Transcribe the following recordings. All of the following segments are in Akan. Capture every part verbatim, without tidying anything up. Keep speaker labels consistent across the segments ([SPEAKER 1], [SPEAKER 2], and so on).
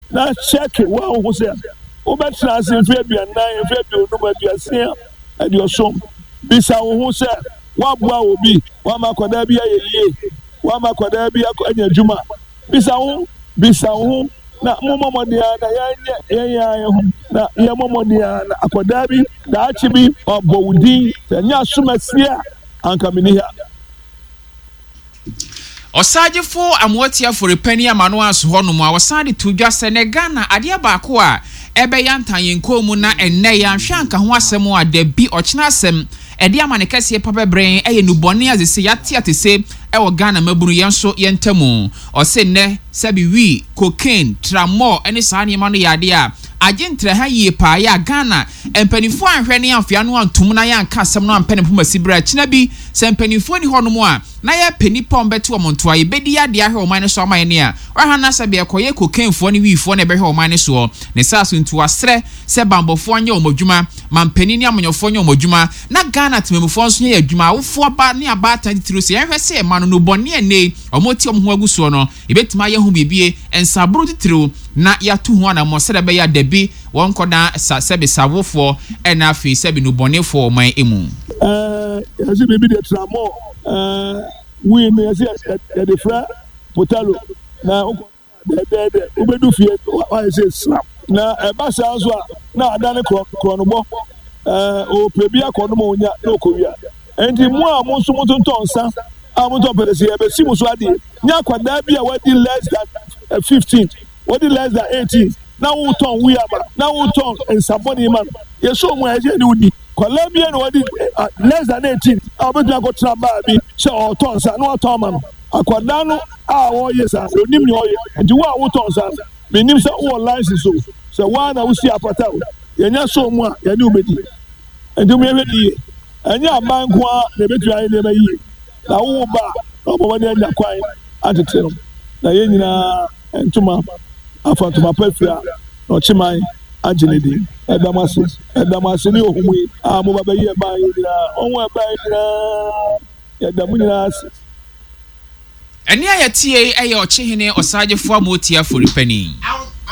[SPEAKER 1] Na kyɛke wo a wohu sɛ wobɛtena ase mfe aduanan, mfe aduonum, aduasia, aduɔson. Bisa wo ho sɛ, woaboa obi, woama akwadaa bi ayɛ yie, woama akwadaa bi anya adwuma. Bisa wo ho, bisa wo ho, na mommɔ mmɔden ara na yɛnyɛ yɛn ara yɛn ho, na yɛmmɔ mmɔden ara na akwadaa bi, daakye bi, wabɔ wo din. Sɛ ɛnyɛ asomasie a, anka menni ha.
[SPEAKER 2] Ɔsagyefo Amoatia Afori-Panin ama no aso hɔnom a ɔsan de too dwa sɛ nɛ Ghana adeɛ baako a ɛbɛyantan yɛn kɔn mu na ɛnnɛ yɛanhwɛ anka ho asɛm a dabi ɔkyena asɛm ɛde amane kɛseɛ pa bɛbrɛ yɛn ɛyɛ nnubɔne a sese yɛate atese ɛwɔ Ghana mmabunu yɛn nso yɛn ntamu. Ɔse nnɛ sɛbi wii, cocaine, tramol ɛne saa nneɛma no yɛ adeɛ a agye ntraha yie paa yɛ a Ghana mpanimfoɔ anhwɛ ne amfea no antom na yɛanka asɛm no ampɛ ne mpoma si berɛ a kyena bi sɛ mpanimfoɔ ni hɔnom a na yɛpɛ nnipa a wɔbɛte wɔn ntoa yɛbɛdi adeɛ ahwɛ ɔman no so ama yɛn a ɔha na sɛ bɛɛkɔyɛ cocainefoɔ ne wiifoɔ na ɛbɛhwɛ ɔman no soɔ. Ne saa so nti wasrɛ sɛ bambɔfoɔ nyɛ wɔn adwuma, mampanin ne amanyɔfoɔ nyɛ wɔn adwuma, na Ghana temamufoɔ nso nyɛ adwuma. Awofoɔ ba ne abaatan titiri sɛ yɛnhwɛ sɛ ɛma no nnubɔne a ɛnnɛ wɔn te wɔn ho agu soɔ no yɛbɛtumi ayɛ ho biribi nsaboro titiriw na yɛato ho anammɔ sɛdeɛ ɛbɛyɛ a dabi wɔn nkɔda sa sɛbi sawofoɔ ɛna afei sɛbi nnubɔnefoɔ ɔman mu.
[SPEAKER 1] Ɛɛ yɛsi biribi deɛ tramol ɛɛ wii no yɛsi yɛde frɛ potalo na wokɔ dɛdɛɛdɛ wobɛdu fie wayɛ sɛ sram na ɛba saa nso a na adane korɔ korɔnobɔ ɛɛ ɔpɛ bi akɔnom a onya na ɔkɔwia. Nti mo a mo nso motontɔn nsa a motɔn pɛtɛsi yɛbɛsi mo so adeɛ. Nyɛ akwadaa bi a wadi less than fifteen, wadi less than eighteen na wotɔn wii ama na wotɔn nsabɔne ma no. Yɛsɔ mu a yɛsɛ yɛne wo di. Kwadaa bi na wadi less than eighteen a wobɛtumi akɔtena baa bi sɛ ɔretɔn nsa na watɔn ama no. Akwadaa no a ɔreyɛ saa onim nea ɔyɛ. Nti wo a wotɔn nsa no, menim sɛ wowɔ license o, sɛ woa na wosi apata o, yɛnya sɔ mu a yɛne wo bɛdi. Nti mo yɛhwɛ ne yie. Ɛnyɛ aban nko ara na ebɛtumi ayɛ nneɛma yie. Na wowo ba a, na wɔbɔ mmɔden anya kwan atete no. Na yɛn nyinaa ntoma afa ntoma pa fira na ɔkyeman agye ne din. Ɛda mo ase. Ɛda mo ase ne ohum yi a moba bɛyi ɛban yi nyinaa. Ɔho ɛban yi nyinaa, yɛda mo nyinaa ase.
[SPEAKER 2] Ɛne a yɛtie yi ɛyɛ Ɔkyehene Ɔsagyefo Amoatia Afori-Panin.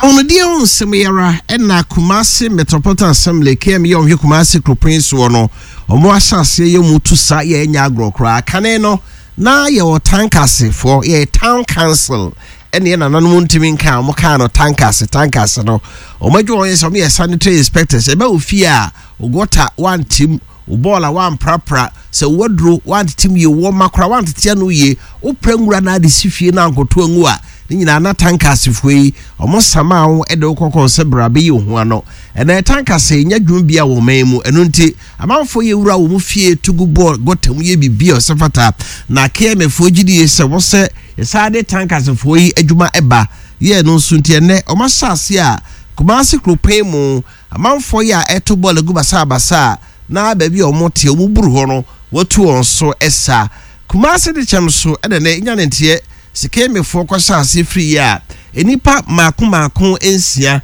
[SPEAKER 3] Ahonidie ho nsɛm yi ara ɛna Kumasi Metropolitan Assembly K M yɛ ɔhwɛ Kumasi kuropɔn soɔ no, ɔmo ahyɛ aseɛ yɛ mu tu sa yɛ ɛnya agorɔ koraa. Kane no na yɛwɔ tankasefoɔ, yɛ town council, ɛne yɛ nananom ntumi nka a ɔmo kaa no tankase. Tankase no, ɔmo adwuma wɔn yɛ sɛ ɔmo yɛ sanitary inspectors. Ɛbɛ wɔ fie a ogɔta wantim, wo bɔɔl a wamprapra, sɛ waduro wantetem yie, wɔ ma kora wantete ano yie, wopra nwura na ade si fie na ankoto angu a, ne nyinaa na tankasefoɔ yi ɔmo sama wo ɛde wo kɔkɔɔ sɛ bra bɛyi wo ho ano. Ɛnna tankase nyɛ dwuma bi a wɔ man mu. Ɛno nti amanfoɔ yɛ wura wɔn fie tugu bɔɔl gɔta mu yɛ biribi a ɔsɛ fata na K M A foɔ gyidie sɛ wɔsɛ yɛsan de tankasefoɔ yi adwuma ɛba yɛ no nso. Nti ɛnɛ ɔmo ahyɛ ase a Kumasi kuropɔn mu amanfoɔ yi a ɛto bɔɔl agu basabasa a na baabi a wɔn te wɔn buru hɔ no wɔatu wɔn so ɛsa. Kumasi de kyɛm so ɛna nɛ nya ne nteɛ sikemefoɔ kɔhyɛ ase firi yi a nnipa mmaako mmaako nsia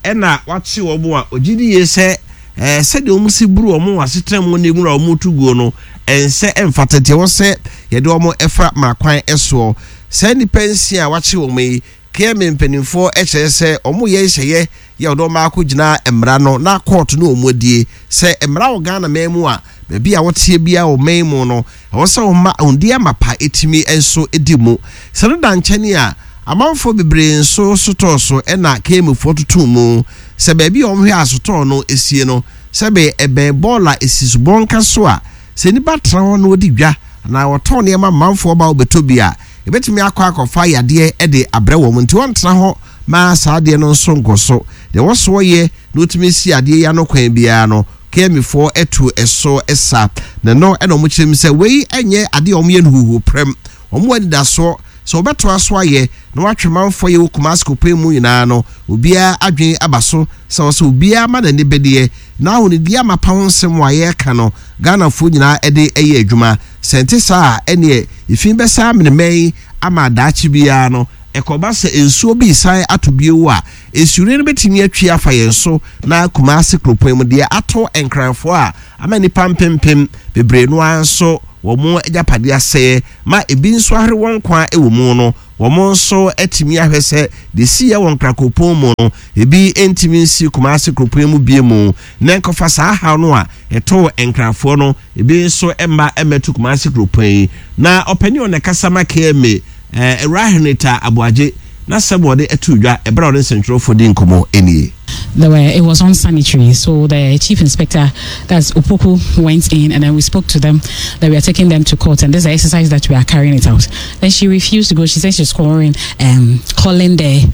[SPEAKER 3] ɛna wakye wɔn a ogye di yie sɛ ɛɛ sɛdeɛ wɔn si buru wɔn wɔ asetena mu ne nwura wɔn tu guo no ɛnsɛ ɛmfata, nti ɛwɔ sɛ yɛde wɔn ɛfa mmarakwan ɛsoɔ. Saa nnipa nsia a wakye wɔn yi, K M A mpanimfoɔ kyerɛ sɛ wɔn yɛ nhyɛyɛ yɛ ɔdɔ wɔn akɔ gyina mmara no na kɔɔto no wɔn adie sɛ mmara wɔ Ghana man mu a baabi a wɔteɛ biara wɔ man mu no ɛwɔ sɛ wɔn ma ahondie amapa etimi nso di mu. Sɛ no da nkyɛn a amanfoɔ bebree nso sotɔɔ so ɛna K M A foɔ tutu mu sɛ baabi a wɔhwɛ asotɔɔ no esie no sɛbe ɛbɛn bɔɔla esi so bɔnka so a sɛ nipa tena hɔ na wɔdi dwa anaa wɔtɔn nneɛma manfoɔ ba wɔbɛtɔ bi a ebɛtumi akɔ akɔfa yadeɛ de abrɛ wɔn, nti wɔntena hɔ maa saa adeɛ no nso nkɔ so. Deɛ wɔsoɔ yɛ na wɔtumi si adeɛ yi ano kwan biara no, K M A foɔ ɛto ɛso ɛsa na no ɛna wɔn kyerɛ mu sɛ wei ɛnyɛ adeɛ a wɔn yɛ no huhu prɛm. Wɔn wɔ anidasoɔ sɛ wɔbɛtoa so ayɛ na wɔatwe manfoɔ yɛ wɔ Kumasi kuropɔn mu nyinaa no obiara adwene aba so sɛ wɔsɛ obiara ma n'ani bɛdeɛ na ahonidie amapa ho nsɛm a yɛreka no Ghanafoɔ nyinaa ɛde ɛyɛ adwuma. Sɛ nte saa a ɛneɛ efi bɛsa amenemɛn ama daakye biara no ɛkɔba sɛ nsuo bi san ato bio a nsuo no bɛtumi atwi afa yɛn so na Kumasi kuropɔn mu deɛ ato Nkranfoɔ a ama nipa mpempem bebree no ara nso wɔn agyapadeɛ asɛeɛ ma ebi nso ahwere wɔn kwan wɔ mu no. Wɔn nso atumi ahwɛ sɛ de si yɛ wɔ Nkrakopɔn mu no, ebi ntumi nsi Kumase kuropɔn mu bie mu, na nkɔfa saa haw no a ɛtoo Nkrafoɔ no ebi nso mma mmɛto Kumase kuropɔn yi. Na ɔpanin a ɔna kasa ma K M A, ɛɛ Awura Henrietta Aboagye, na sɛm wɔde ato dwa ɛberɛ a ɔne nsɛntwerɛfoɔ di nkɔmmɔ nie.
[SPEAKER 4] There were it was unsanitary. So the chief inspector, that's Opoku, went in and then we spoke to them that we are taking them to court and this is the exercise that we are carrying it out. Then she refused to go. She said she's calling um calling the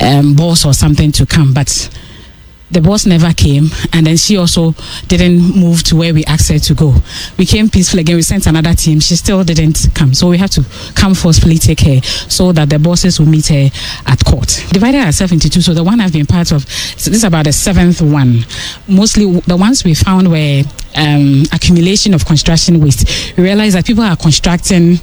[SPEAKER 4] um, boss or something to come, but the boss never came, and then she also didn't move to where we asked her to go. We came peacefully again. We sent another team. She still didn't come, so we have to come forcefully take her so that the bosses will meet her at court. Divided ourselves into two. So the one I've been part of, so this is about the seventh one. Mostly the ones we found were um, accumulation of construction waste. We realize that people are constructing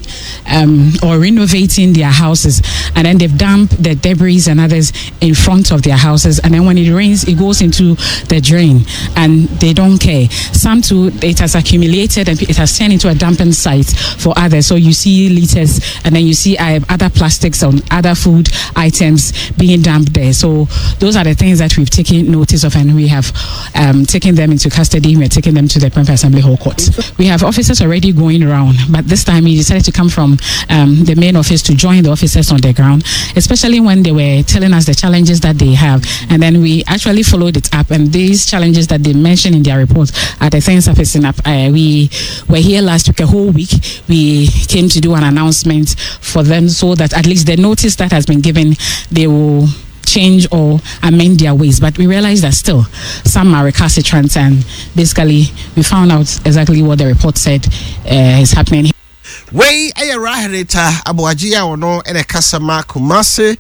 [SPEAKER 4] um, or renovating their houses, and then they've dumped the debris and others in front of their houses, and then when it rains, it goes into the drain, and they don't care. Some too, it has accumulated and it has turned into a dumping site for others. So you see litters, and then you see uh, other plastics and other food items being dumped there. So those are the things that we've taken notice of, and we have um, taken them into custody. We are taking them to the Prempeh Assembly Hall Court. We have officers already going around, but this time we decided to come from um, the main office to join the officers on the ground, especially when they were telling us the challenges that they have. And then we actually followed it up, and these challenges that they mentioned in their report are the things surfacing up. Uh, we were here last week, a whole week. We came to do an announcement for them so that at least the notice that has been given, they will change or amend their ways. But we realized that still some are recalcitrant, and basically we found out exactly what the report said uh, is happening.
[SPEAKER 3] Wei ɛyɛ Raherita Aboagye a ɔno ɛna kasa ma Kumase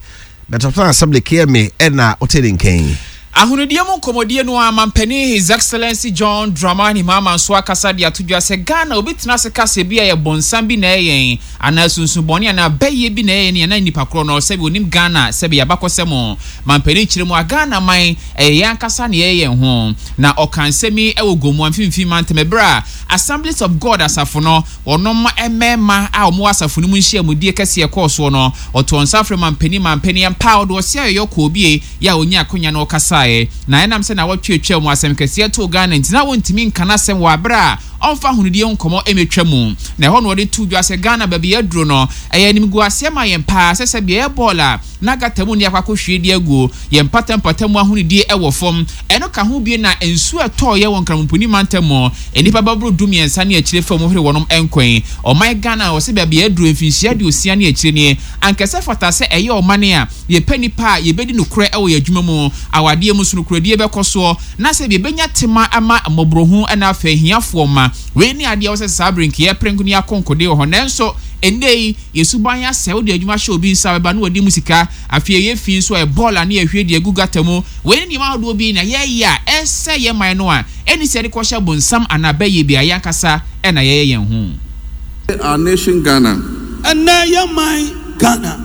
[SPEAKER 3] Metropolitan Assembly, K M A, ɛna ɔte ne nkɛn.
[SPEAKER 2] Ahonidie mu nkɔmmɔdie no a, mampanin His Excellency John Dramani Mahama nso akasa de ato dwa sɛ Ghana obi tena ase kasa bi a yɛ bɔnsam bi na ɛyɛn anaa sunsunbɔne anaa bɛyɛ bi na ɛyɛ ne anaa nipa korɔ no sɛbi onim Ghana sɛbi yɛabakɔsɛm. Mampanin kyerɛ mu a, Ghana man ɛyɛ yɛn ankasa ne ɛyɛ yɛn ho, na ɔka nsɛm yi ɛwɔ Gomu mfimfini mantam ɛberɛ a Assemblies of God asafo no wɔnom mmarima a wɔwɔ asafo no mu nhyiamudie kɛseɛ kɔɔ soɔ no. Ɔtɔ nsa frɛ mampanin mampanin mpa a ɔde ɔsi ayɔyɔ kɔɔ bie yɛ a onye akonya no ɔkasaeɛ, na ɛnam sɛ na wɔtwetwe mu asɛm kɛseɛ too Ghana nti na wɔntumi nka n'asɛm wɔ abere a ɔmfa ahonidie nkɔmmɔ ɛmɛtwa mu. Na ɛhɔ na wɔde to dwa sɛ Ghana baabi aduro no ɛyɛ animguaseɛ ma yɛn paa sɛ sɛ beaeɛ bɔɔl a na gata mu ne akɔ akɔhwie de aguo yɛn mpatampata mu, ahonidie ɛwɔ fam. Ɛno ka ho bie na nsuo ɛtɔɔyɛ wɔ Nkramoponi mantam mu, nnipa bɛboro du mmiɛnsa ne akyire fam hwere wɔnom nkwan. Ɔman Ghana a wɔsɛ baabi aduro mfinhyia aduosia ne akyire nie, ankɛsɛ fata sɛ ɛyɛ ɔman a yɛpɛ nipa a yɛbɛdi nokorɛ ɛwɔ yɛn adwuma mu, awadeɛ mu so nokorɛdie bɛkɔ soɔ, na sɛ yɛbɛnya tema ama mmɔborɔhu ɛna afei ahiafoɔ ma wei ne adeɛ wɔ sɛ saa bere nkeɛ pere ne akɔnkɔde wɔ hɔ. Nanso ɛnnɛ yi yɛsuban asɛ wode adwuma hyɛ obi nsa bɛba na wɔde mu sika, afei ɛyɛ fi nso a ɛbɔɔla ne yɛhwie de agu gata mu. Wei ne nneɛma ahodoɔ bi na yɛyɛ a ɛsɛ yɛ man no a ɛne sɛ yɛde kɔhyɛ bonsam anaa bɛyɛ bi a yɛankasa ɛna yɛyɛ yɛn ho.
[SPEAKER 5] Our nation Ghana,
[SPEAKER 6] Ɛnɛ yɛ man Ghana,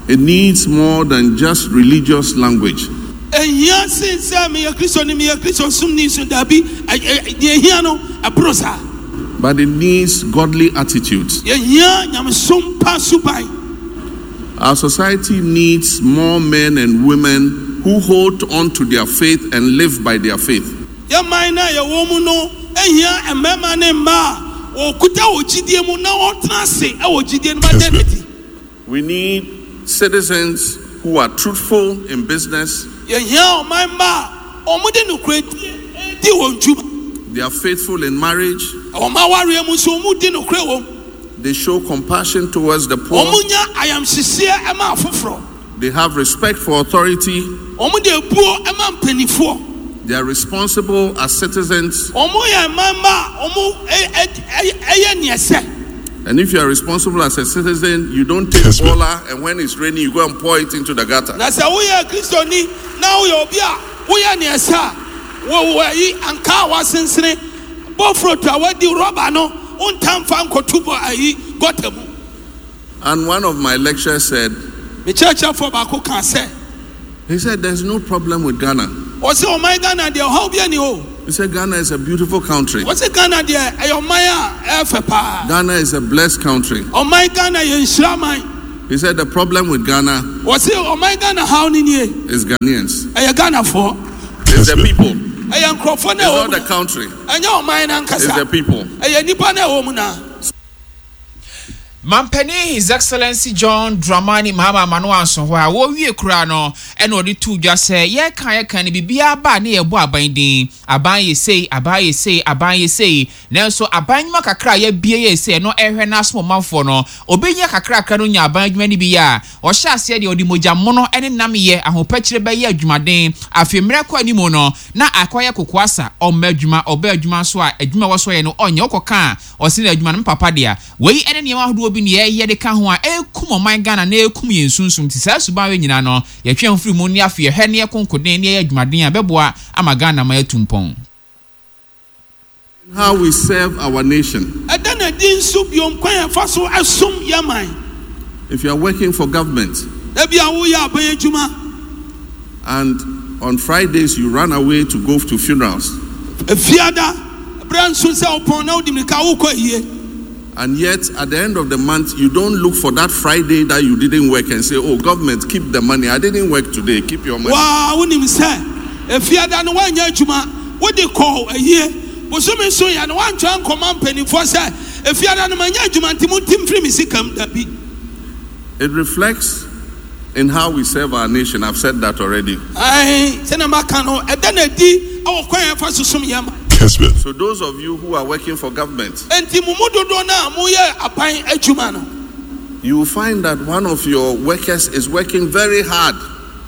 [SPEAKER 5] it needs more than just religious language.
[SPEAKER 6] Ehia sen sɛ meyɛ Kristoni, meyɛ Kristo som ni so. Dabi, ɛ- ɛ- deɛ ehia no ɛboro saa.
[SPEAKER 5] But it needs godly attitudes.
[SPEAKER 6] Yɛhia nyamesom pa suban.
[SPEAKER 5] Our society needs more men and women who hold on to their faith and live by their faith.
[SPEAKER 6] Yɛ man no a yɛwɔ mu no ehia mmarima ne mmaa a wɔkuta wɔ gyidie mu na wɔtena ase ɛwɔ gyidie no ma dɛ n'adi.
[SPEAKER 5] We need citizens who are truthful in business,
[SPEAKER 6] Yɛhia ɔman mma a wɔde nokorɛdie di wɔn dwuma.
[SPEAKER 5] They are faithful in marriage,
[SPEAKER 6] Wɔn awareɛ mu nso wɔn di nokorɛ wɔ mu.
[SPEAKER 5] They show compassion towards the poor,
[SPEAKER 6] Wɔn nya ayamhyehyeɛ ɛma afoforɔ.
[SPEAKER 5] They have respect for authority,
[SPEAKER 6] Wɔn de ebuo ɛma mpanimfoɔ.
[SPEAKER 5] They are responsible as citizens.
[SPEAKER 6] Wɔn yɛ mma a wɔn ɛ- ɛ- ɛ- ɛyɛ neɛ sɛ.
[SPEAKER 5] And if you are responsible as a citizen, you don't take bola and when it's raining, you go and pour it into the gutter.
[SPEAKER 6] Na sɛ woyɛ Kristoni na woyɛ obi a woyɛ neɛ sɛ a wɔ wɔ ayi anka a wasensene bɔfrɔto a wadi rɔba no wontam fa nkɔto bɔ ayi gɔta mu.
[SPEAKER 5] And one of my lecturers said,
[SPEAKER 6] Me kyerɛkyerɛfoɔ baako kaa sɛ,
[SPEAKER 5] he said, "There's no problem with Ghana."
[SPEAKER 6] Ɔsɛ ɔman Ghana deɛ ɔhaw bi ani o.
[SPEAKER 5] He said, "Ghana is a beautiful country."
[SPEAKER 6] Ɔsɛ Ghana deɛ ɛyɛ ɔman a ɛyɛ fɛ paa.
[SPEAKER 5] Ghana is a blessed country.
[SPEAKER 6] Ɔman Ghana yɛ nhyira man.
[SPEAKER 5] He said the problem with Ghana
[SPEAKER 6] Wɔse ɔman Ghana haw no nie.
[SPEAKER 5] is Ghanaians.
[SPEAKER 6] Ɛyɛ Ghanafoɔ.
[SPEAKER 5] It's the people.
[SPEAKER 6] Ɛyɛ nkurɔfoɔ
[SPEAKER 5] It's
[SPEAKER 6] no a ɛwɔ
[SPEAKER 5] not
[SPEAKER 6] mu
[SPEAKER 5] the
[SPEAKER 6] no.
[SPEAKER 5] country.
[SPEAKER 6] Ɛnyɛ ɔman no
[SPEAKER 5] It's
[SPEAKER 6] ankasa.
[SPEAKER 5] the people.
[SPEAKER 6] Ɛyɛ nnipa no a ɛwɔ mu no.
[SPEAKER 2] Mampanin His Excellency John Dramani Mahama ama no anso hɔ a wɔwie koraa no ɛna ɔde too dwa sɛ yɛka yɛka no biribiara ba a ne yɛbɔ aban din, aban yɛ sei, aban yɛ sei, aban yɛ sei, nanso aban nnwuma kakra a yɛabie yɛ sei ɛno ɛhwɛ n'asom ɔmanfoɔ no obi nya kakrakra no nya aban adwuma no bi yɛ a ɔhyɛ aseɛ deɛ ɔde mogya mono ne nam yɛ ahopɛkyerɛ bɛyɛ adwumaden. Afei mmerɛ kɔ anim no na akɔyɛ kokoasa, ɔmma adwuma, ɔba adwuma nso a adwuma a ɛwɔ so ɔyɛ no ɔnyɛ, wokɔka a ɔse na adwuma no me papa dea. Wei ne nneɛma ahodoɔ bi na yɛyɛ de ka ho a ɛrekum ɔman Ghana na ɛrekum yɛn sunsum nti saa suban wei nyinaa no yɛtwe yɛn ho firi mu ne afei yɛhwɛ na yɛko nkoden na yɛyɛ adwumaden a ɛbɛboa ama Ghana man atu mpɔn.
[SPEAKER 5] How we serve our nation.
[SPEAKER 6] Ɛda no adi nso bio kwan a yɛfa so som yɛn man.
[SPEAKER 5] If you are working for government.
[SPEAKER 6] Ebia woyɛ aban adwuma.
[SPEAKER 5] And on Fridays you run away to go to funerals.
[SPEAKER 6] Fiada, berɛ nso sɛ wopɔn na wode mmirika wokɔ ayie.
[SPEAKER 5] And yet at the end of the month you don't look for that Friday that you didn't work and say, oh government, keep the money, I didn't work today, keep your money.
[SPEAKER 6] Waa wonim sɛ Fiada no woanyɛ adwuma, wode kɔɔ ayie. Bosome nso yɛ no woantwerɛ ankɔma mpanimfoɔ sɛ Fiada no manyɛ adwuma nti monte mfiri me sika mu, dabi.
[SPEAKER 5] It reflects in how we serve our nation. I've said that already.
[SPEAKER 6] Ae, sɛnea maka no, ɛda no adi wɔ kwan a yɛfa so som yɛn man.
[SPEAKER 5] So those of you who are working for government,
[SPEAKER 6] Enti mo mu dodoɔ no a moyɛ aban adwuma no,
[SPEAKER 5] you will find that one of your workers is working very hard.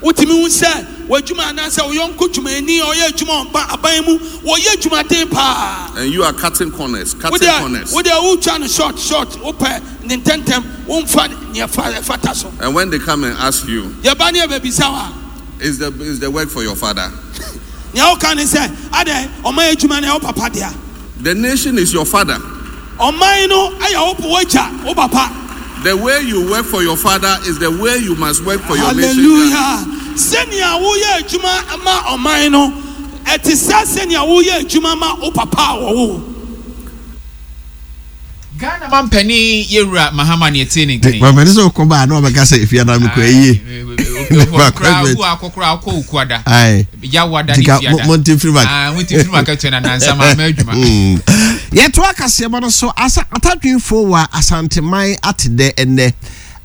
[SPEAKER 6] Wotumi hu sɛ w'adwuma anaasɛ wo yɔnko dwumayɛni a ɔyɛ adwuma wɔ aban mu, wɔyɛ adwumaden paa.
[SPEAKER 5] And you are cutting corners, cutting
[SPEAKER 6] Wo deɛ,
[SPEAKER 5] corners.
[SPEAKER 6] wo deɛ wotwa no short, short, wopɛ ne ntɛmntɛm, womfa nea ɛfata so.
[SPEAKER 5] And when they come and ask you,
[SPEAKER 6] Yɛba ne yɛbɛbisa wo a,
[SPEAKER 5] Is the, is the work for your father?
[SPEAKER 6] Nea woka ne sɛ, adɛn, ɔman adwuma no ɛyɛ wo papa dea?
[SPEAKER 5] The nation is your father.
[SPEAKER 6] Ɔman no ɛyɛ wo w'agya, wo papa.
[SPEAKER 5] The way you work for your father is the way you must work for your nation.
[SPEAKER 6] Hallelujah. Sɛnea woyɛ adwuma ma ɔman no, ɛte sɛ sɛnea woyɛ adwuma ma wo papa a wɔwo wo.
[SPEAKER 2] Ghana mampanin Yewura Mahama ne ɛtee ne nkɛn.
[SPEAKER 3] Mampanin sɛ ɔkɔ baa na ɔbɛka sɛ efia na mekɔ ayie.
[SPEAKER 2] Akɔkora akɔ okuada. Yawada ne fiada.
[SPEAKER 3] Monte firi ma.
[SPEAKER 2] Ah, monte firi ma katua na nansa ma ama adwuma.
[SPEAKER 3] Yɛto akaseɛbɔ no so asa atadwenfoɔ wɔ Asanteman ate dɛ ɛnnɛ.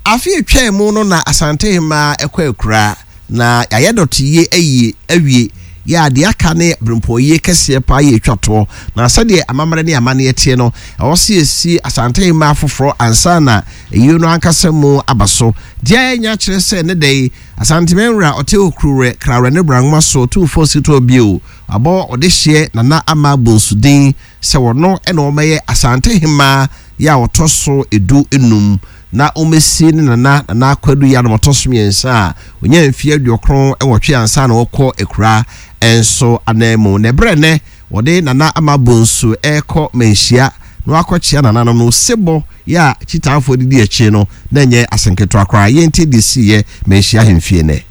[SPEAKER 3] Afe atwaa mu no na Asantehemaa ɛkɔ akura na yɛayɛ dɔteyie ayie awie. Yɛ a deɛ aka ne berempɔnyie kɛseɛ paa yɛ atwa toɔ. Na sɛdeɛ amammerɛ ne amanneɛ teɛ no, ɛwɔ sɛ yɛsi Asantehemaa foforɔ ansa na ayie no ankasa mu aba so. Deɛ yɛanya kyerɛ sɛ ne da yi, Asanteman wura ɔte Okuruwerɛ, Krawerɛ ne Brangoma so Tumfoɔ Sitɔɔ bio abɔ ɔdehyeɛ Nana Ama Bonsu din sɛ ɔno na ɔmmɛyɛ Asantehemaa yɛ a ɔtɔ so edu enum na ɔmmɛsi ne nana Nana Kwadu Yiadom ɔtɔ so mmiɛnsa a ɔnyaa mfeɛ aduokron nwɔtwe ansa na ɔrekɔ akuraa nso ananmu. Na ɛberɛ nnɛ wɔde Nana Ama Bonsu rekɔ Manhyia na wakɔkyea nananom no, osebɔ yɛ a Kyitaafoɔ de di akyire no na ɛnyɛ asɛnketewa koraa. Yɛntie deɛ ɛsiiɛ Manhyia ahemfie nnɛ.